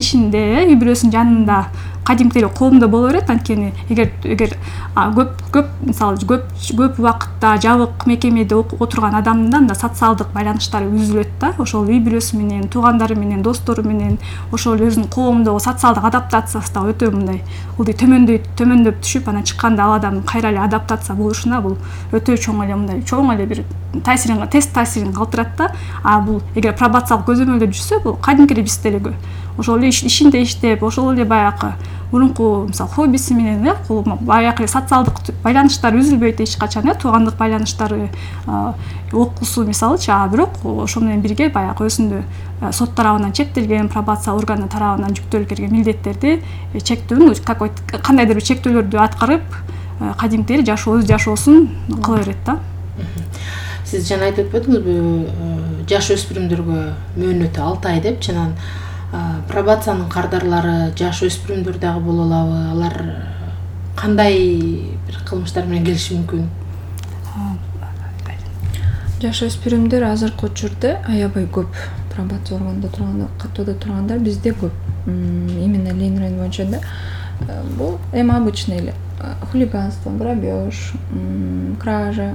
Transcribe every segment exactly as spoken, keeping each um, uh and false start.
ишинде үй бүлөсүнүн жанында кадимкидей коомдо боло берет. Анткени эгер эгер көп көп мисалы көп көп убакытта жабык мекемеде отурган адамдын да социалдык байланыштары үзүлөт да. Ошол үй бүлөсү менен, туугандары менен, достору менен, ошол өзүнүн коомдогу социалдык адаптациясы да өтө мындай ылдый төмөндөйт, төмөндөп түшүп, анан чыкканда ал адам кайра эле адаптация болушуна бул өтө чоң эле мындай чоң эле бир таасирин тест таасирин калтырат да. А бул эгер пробациялык көзөмөлдө жүрсө, бул кадимкидей биз деле ошол эле ишинде иштеп, ошол эле баягы мурунку мисалы хоббиси менен э баягы социалдык байланыштар үзүлбөйт эч качан, э туугандык байланыштары, окуусу мисалычы. А бирок ошо менен бирге баягы өзүндө сот тарабынан чектелген, пробация органы тарабынан жүктөлүп келген милдеттерди чектөөнү кандайдыр бир чектөөлөрдү аткарып, кадимкидей жашоо өз жашоосун кыла берет да. Сиз жана айтып өтпөдүңүзбү, жаш өспүрүмдөргө мөөнөтү алты ай деп, жана пробациянын кардарлары жаш өспүрүмдөр дагы боло алабы? Алар кандай бир кылмыштар менен келиши мүмкүн? Жаш өспүрүмдөр азыркы учурда аябай көп. Пробация органында турганда, каттоодо тургандар бизде көп. Именно Ленин району боюнча да бул эми обычный эле хулиганство, грабеж, кража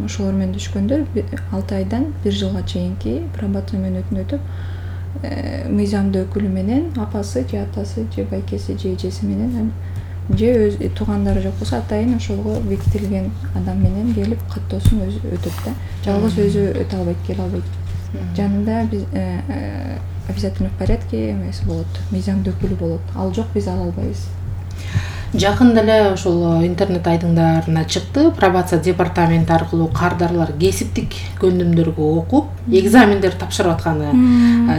ошолор менен түшкөндөр алты айдан бир жылга чейинки пробация мөөнөтүн өтүп, мыйзамдуу өкүлү менен апасы же атасы же байкеси же эжеси менен же өз туугандары жок болсо атайын ошолго бекитилген адам менен келип каттоосун өзү өтөт да. Жалгыз өзү өтө албайт, келе албайт. Жанында биз обязательно в порядке эмеси болот, мыйзамдуу өкүлү болот. Ал жок, биз ала албайбыз. Жакында эле ошол интернет айдыңдарына чыкты, пробация департаменти аркылуу кардарлар кесиптик көндүмдөргө окуп, экзамендер тапшырып атканы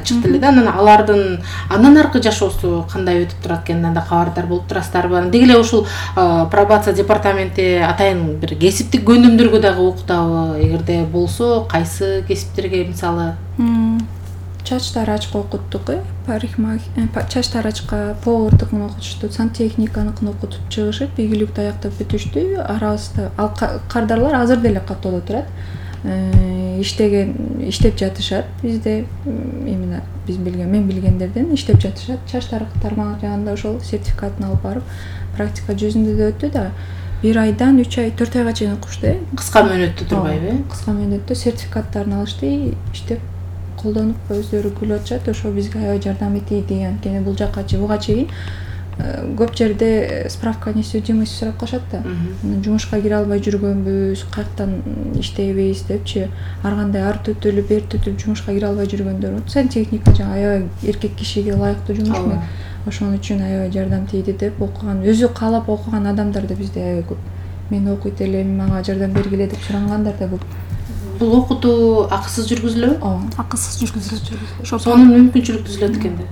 чыкты эле да. Анан алардын андан аркы жашоосу кандай өтүп турат экенинен да кабардар болуп турасыздарбы? Деги эле ушул пробация департаменти атайын бир кесиптик көндүмдөргө дагы окутабы? Эгерде болсо, кайсы кесиптерге мисалы? Чач тарачка окуттук, чач тарачка, повардыкын окутушту, сантехниканыкын окутуп чыгышып, ийгиликтүү аяктап бүтүштү. Арабызда ал кардарлар азыр деле каттоодо турат. Иштеген, иштеп жатышат. Бизде именно биз билген, мен билгендерден иштеп жатышат. Чач тармак жагында ошол сертификатын алып барып, практика жүзүндө да өттү да. Бир айдан үч ай, төрт айга чейин окушту. Кыска мөөнөттө турбайбы? Кыска мөөнөттө сертификаттарын алышты, иштеп колдонуп өздөрү күлүп атышат. Ошо бизге аябай жардам этти деген. Анткени бул жакка буга чейин көп жерде справка не судимость сурап калышат да. Жумушка кире албай жүргөнбүз, каяктан иштейбиз депчи, ар кандай ар төтөлүп, бер төтөлүп жумушка кире албай жүргөндөр. Сантехника жана аябай эркек кишиге ылайыктуу жумуш. Ошон үчүн аябай жардам тийди деп окуган, өзү каалап окуган адамдар да бизде аябай көп. Мен окуйт элем, мага жардам бергиле деп сурангандар да көп. Бул окутуу акысыз жүргүзүлөбү? Ооба, акысыз жүргүзүлөт. Ошо сонун мүмкүнчүлүк түзүлөт экенде.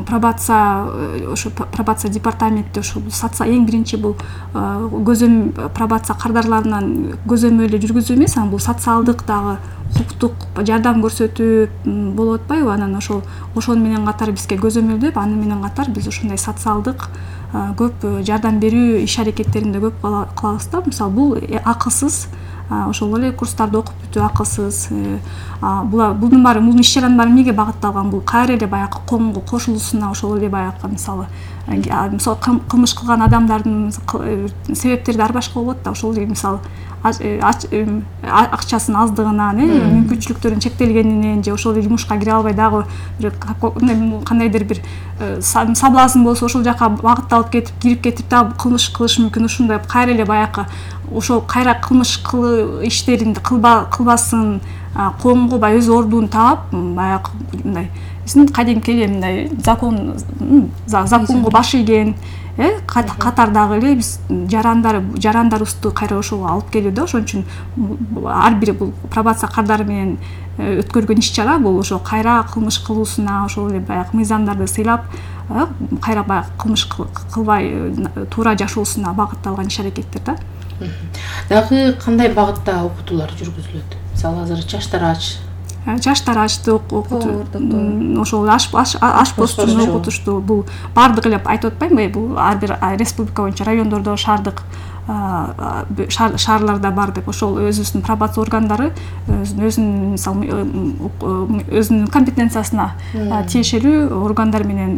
Пробация, ошо пробация департаменти ошо эң биринчи бул көзөм пробация кардарларынан көзөмөлдү жүргүзүү эмес, анан бул социалдык дагы укуктук жардам көрсөтүп болуп атпайбы? Анан ошол ошон менен катар бизге көзөмөлдөп, аны менен катар биз ушундай социалдык көп жардам берүү иш аракеттеринде көп кылабыз да. Мисалы бул акысыз, ошол эле курстарды окуп бүтүү акысыз. Бунун баары, бул иш чаранын баары эмнеге багытталган? Бул кайра эле баягы коомго кошулуусуна, ошол эле баягы мисалы мисалы кылмыш кылган адамдардын себептери ар башка болот да. Ошол эле мисалы акчасынын аздыгынан, мүмкүнчүлүктөрүнүн чектелгенинен же ошол эле жумушка кире албай дагы кандайдыр бир соблазн болсо ошол жака багытталып кетип, кирип кетип дагы кылмыш кылышы мүмкүн. Ушундай кайра эле баягы ошол кайра кылмыш иштерин кылбасын, коомго баягы өз ордун таап, баягы мындай кадимки эле мындай закон законго баш ийген катардагы эле биз жарандар жарандарыбызды кайра ошого алып келүү да. Ошон үчүн ар бир бул пробация кардары менен өткөргөн иш чара бул ошо кайра кылмыш кылуусуна, ошол эле баягы мыйзамдарды сыйлап, кайра баягы кылмыш кылбай туура жашоосуна багытталган иш аракеттер да. Дагы кандай багытта окутуулар жүргүзүлөт? Мисалы азыр чач тарач, чач тарачты окутуу, ошол ашпозчуну окутушту. Бул баардык эле айтып атпаймынбы? Бул ар бир республика боюнча, райондордо, шаардык шаарларда бар деп. Ошол өзүбүздүн пробация органдары өзүнүн мисалы өзүнүн компетенциясына тиешелүү органдар менен